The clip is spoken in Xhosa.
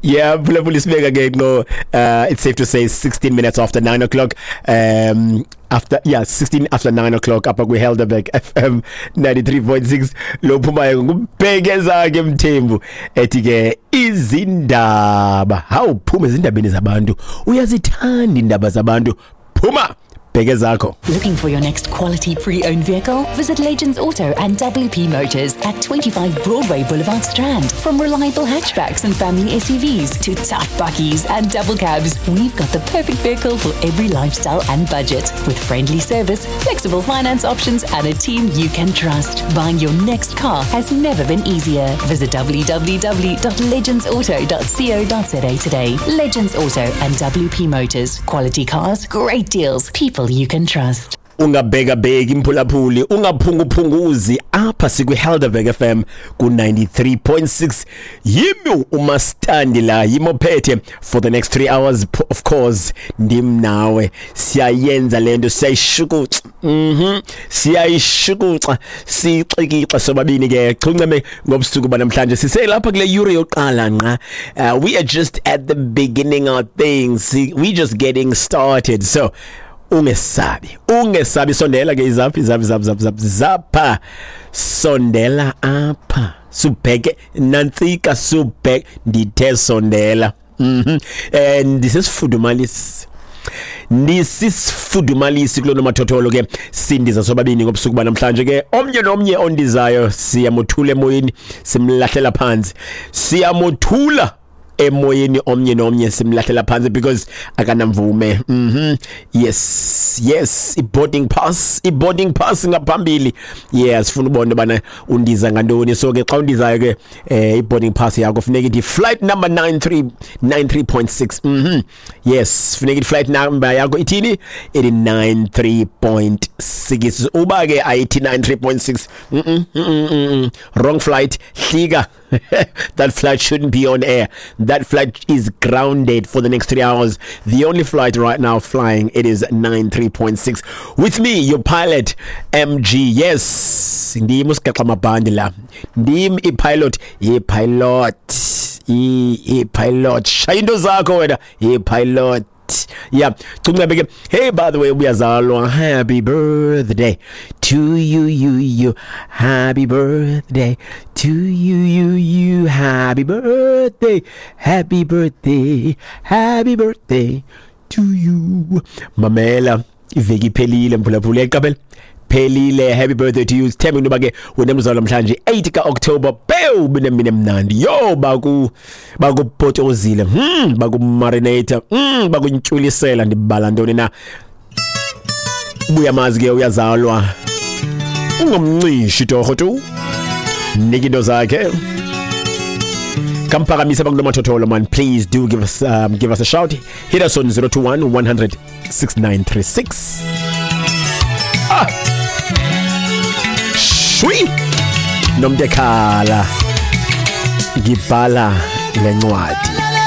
Yeah, phulaphula, isibeka ke no, it's safe to say 16 minutes after 9 o'clock, after, yeah, 16 after 9 o'clock apha kwi-Helderberg FM 93.6. Lo phumayo nguBhekeza ke Mthembu, ethi ke izindaba. Hawu, phuma ezindabeni zabantu, uyazithanda indaba zabantu. Phuma, bheke zakho. Looking for your next quality pre-owned vehicle? Visit Legends Auto and WP Motors at 25 Broadway Boulevard, Strand. From reliable hatchbacks and family SUVs to tough bakkies and double cabs, we've got the perfect vehicle for every lifestyle and budget. With friendly service, flexible finance options, and a team you can trust. Buying your next car has never been easier. Visit www.legendsauto.co.za today. Legends Auto and WP Motors. Quality cars, great deals, people you can trust. Ungabhekabheki, mphulaphuli, ungaphunguphunguzi, apha sikwi-Helderberg FM ku-93.6. Yimi umastandi la, yimi ophethe for the next 3 hours. Of course ndim nawe, siyayenza le nto, siyayishukuxa, siyayishukuxa, sixikixa sobabini ke chunceme ngobusuku banamhlanje. Siselapha kule yure yokuqala nqa. We are just at the beginning of things, we just getting started, so ungesabi, ungesabi, sondela ke, izaphi, izaphi, zaphi, zaphi, zaphi, zapha, sondela apha, subheke nantsika, subheke, ndithe sondela. Ndisesifudumalisi, ndisisifudumalisi kulo nomathotholo ke, sindiza sobabini ngobusuku banamhlanje ke. Omnye nomnye ondizayo siyamothula emoyeni, simlahlela phansi, siyamothula emoyeni, omnye nomnye simlahlela phansi because akanamvume. Yes, i-boarding pass, i-boarding pass ngaphambili. Yeah, sifuna ubona bana undiza ngantoni. So ke xa undizayo ke, i-boarding pass yakho funeka ithi flight number 93 93.6. Yes, funeka ithi flight number yakho ithini? Ithi 93.6. Uba ke ayithi 93.6, wrong flight, hlika. That flight shouldn't be on air. That flight is grounded for the next 3 hours. The only flight right now flying, it is 93.6 with me, your pilot, MG. Yes, ndim usigaxa amabhandi la, ndim i-pilot, i-pilot, i-pilot. Shaya into zakho wena, i-pilot. Yeah, Cuncabe ke. Hey, by the way, uyazalwa, happy birthday to you, you, you. Happy birthday to you, you, you. Happy birthday, happy birthday, happy birthday to you. Mamela, iveki iphelile, mphulaphula, yaqaphela, phelile. Happy birthday to you. Sithembe into yoba ke wena mzalo namhlanje 8 ka-October pew binemini emnandi yo, bakupotozile, bakumarinate, bakuntyulisela. Ndibala ntoni na? Buyamazi ke, uyazalwa, ungomncishi torho tu, nika into zakhe, kamphakamise bakunomathotholo. Man, please do give us a shout. Hit us on 021 100 6936. Ah, shwi nomntu ekhala, ngibhala lencwadi.